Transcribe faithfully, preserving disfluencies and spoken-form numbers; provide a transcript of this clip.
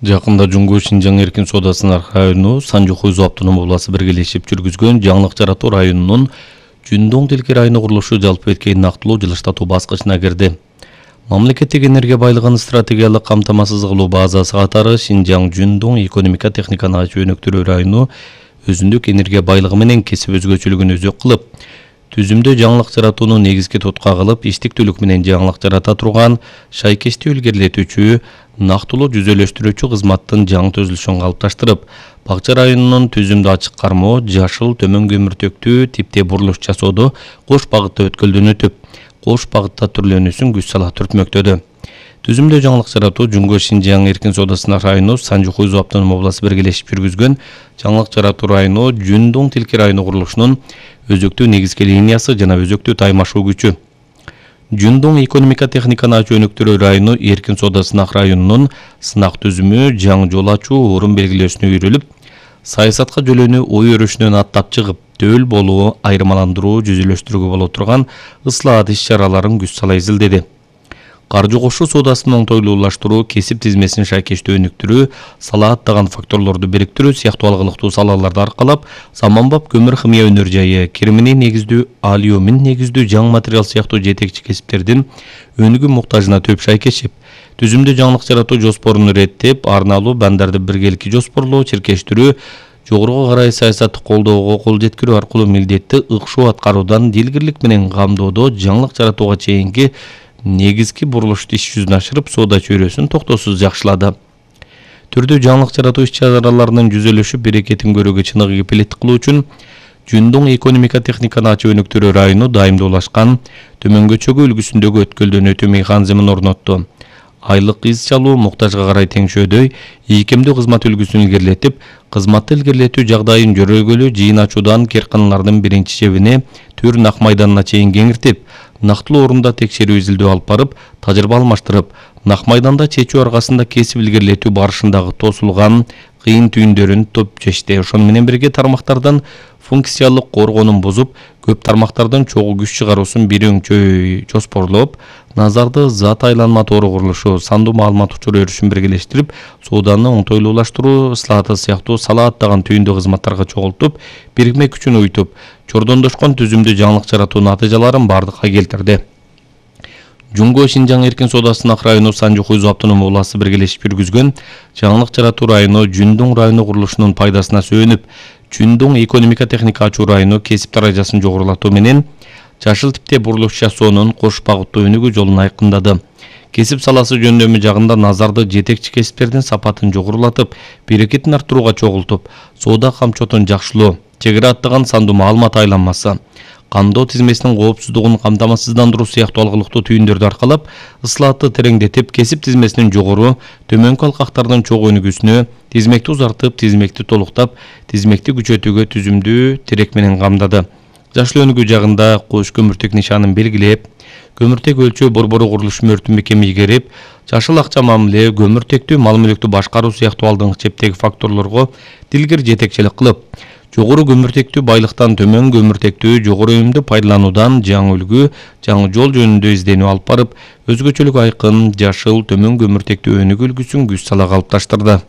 Жакында Жуңгу Шинжаң эркин соодасынын району Санжу-Хуйзу автономдук областы биргелешип жүргүзгөн жаңылык жаратуу районунун Жүндоң тилки району курулушу жалпы эткей нактылуу жылыштатуу баскычына кирди. Мамлекеттик энергия байлыгын стратегиялык камтамасыз кылуу базасы катары Шинжаң Жүндоң экономика техниканы жөнөктүрүү району өзүндүк энергия байлыгы менен кесип өзгөчөлүгүн өзөк кылып, түзүмдө жаңылык жаратууну негизги тутка кылып, иштиктүүлүк менен жаңылык жарата турган шайкешти илгерилетүүчү, нактылуу жүзөлөштүрүүчү кызматтын жаңы төзүлүшүн калыпташтырып, Бакча районунун түзүмдө ачык кармоо, жашыл төмөн көмүртөктүү типте бурулуш жасоодо кош багытта өткөлдөнүтүп, кош багытта түрлөнүүсүн күч сала түртмөктөдү. Түзүмдө жаңылык жаратуу Жуңгу Шинжаң эркин соодасынын району Санжу-Хуйзу автономдук областы биргелешип жүргүзгөн жаңылык жаратуу району Жүндоң тилки району курулушунун өзөктүү негизги линиясы жана өзөктүү таймашуу күчү. Жүндоң экономика техниканы жөнөктүрүү району эркин соодасынын районунун сынак түзүмү жаңы жол ачуу, орун белгилөөсүнө үйрүлүп, саясатка жөлөнүү ой өрүшүнөн аттап чыгып, төл болуу, айырмаландыруу, жүзөлөштүрүүгө боло турган ыслаат иш-чараларын күч сала изилдеди. Каржы кошуу соодасынын оңтойлуулаштыруу, кесип тизмесин шайкештүү өнүктүрүү, салааттаган факторлорду бириктирүү сыяктуу алгылыктуу салаларды аркалап, заманбап көмүр химия өнөр жайы, кирмини негиздүү, алюмин негиздүү жаңы материал сыяктуу жетекчи кесиптердин өнүгүү муктажына төп шайкешип, түзүмдө жаңылык жаратуу жоспорун иреттеп, арналуу бандарды биргеликки жоспорлоо, чиркештирүү, жогоруга карай саясатты колдоого кол жеткирүү аркылуу милдетти ыкшоо аткаруудан дилгирлик менен камдоодо жаңылык жаратууга чейинки негизги бурулушту иш жүзүнө ашырып, соода чөйрөсүн токтоосуз жакшылады. Түрдүү жаңылык жаратуу иш-чараларынын жүзөлүшүп, берекетин көрүүгө чыныгы кепилеттик кылуу үчүн Жүндоң экономика техниканы өнүктүрүү району дайымдуулашкан төмөнгөчөгү үлгүсүндөгү өткөлдөнүүтүү механизмин орнотту. Айлык из чалуу муктажга карай теңшөөдөй ийкемдүү кызмат үлгүсүн илгерилетип, кызматты илгерилетүү жагдайын жөрөлгөлүү жыйын ачуудан керканалардын биринчи чебине Түр Нак майданына чейин кеңиртип, нактылуу орунда текшерүү изилдөө алып барып, тажрыйба алмаштырып, Нак майданда чечүү аркасында кесип илгерилетүү барышындагы тосулган кыйын түйүндөрүн топ чечти. Ошону менен бирге тармактардан функциялык коргоонун бузуп, көп тармактардан чогуу күч чыгаруусун бир өңчөй жоспорлоп, назарды зат айланма тоору курулушу, сандуу маалымат учур өрүшүн биргелештирип, сооданы оңтойлуулаштыруу, ыслааты сыяктуу салааттаган түйүндүү кызматтарга чогултуп, бирикме күчүн уйтуп, чордондошкон түзүмдө жаңылык жаратуу натыйжаларын бардыкка келтирди. Жуңгу Шинжаң эркин соодасынын району Санжу-Хуйзу автономдук областы биргелешип жүргүзгөн жаңылык жаратуу району Жүндоң району курулушунун пайдасына сөөнүп, Жүндоң экономика техника ачуу району кесип даражасын жогорулатуу менен жашыл типте бурулуш жасоонун кош багыттуу өнүгүү жолун айкындады. Кесип саласы жөндөмү жагында назарды жетекчи кесиптердин сапатын жогорулатып, берекетин арттырууга чогултуп, соода камчотун жакшылоо, чек ара аттаган сандуу маалымат айланмасы, камдоо тизмесинин коопсуздугун камтамасыздандыруу сыяктуу алгылыктуу түйүндөрдү аркалап, ыслаатты тереңдетип, кесип тизмесинин жогору, төмөнкү алкактардын чогуу өнүгүүсүнө, тизмекти узартып, тизмекти толуктап, тизмекти күчөтүүгө түзүмдүү терек менен камдады. Жашыл өнүгүү жагында кош көмүртек нишанын белгилеп, көмүртек өлчөө борбору курулуш мөртүн бекеми ийгерип, жашыл акча мамиле, көмүртектүү мал мүлктү башкаруу сыяктуу алдыңкы чептеги факторлорго дилгир жетекчилик кылып, жогору көмүртектүү байлыктан төмөн көмүртектүү жогору өнүмдү пайдалануудан жаңы үлгү, жаңы жол жөнүндө изденүү алып барып, өзгөчөлүк айкын, жашыл төмөн көмүртектүү өнүгүү үлгүсүн күч сала калыпташтырды.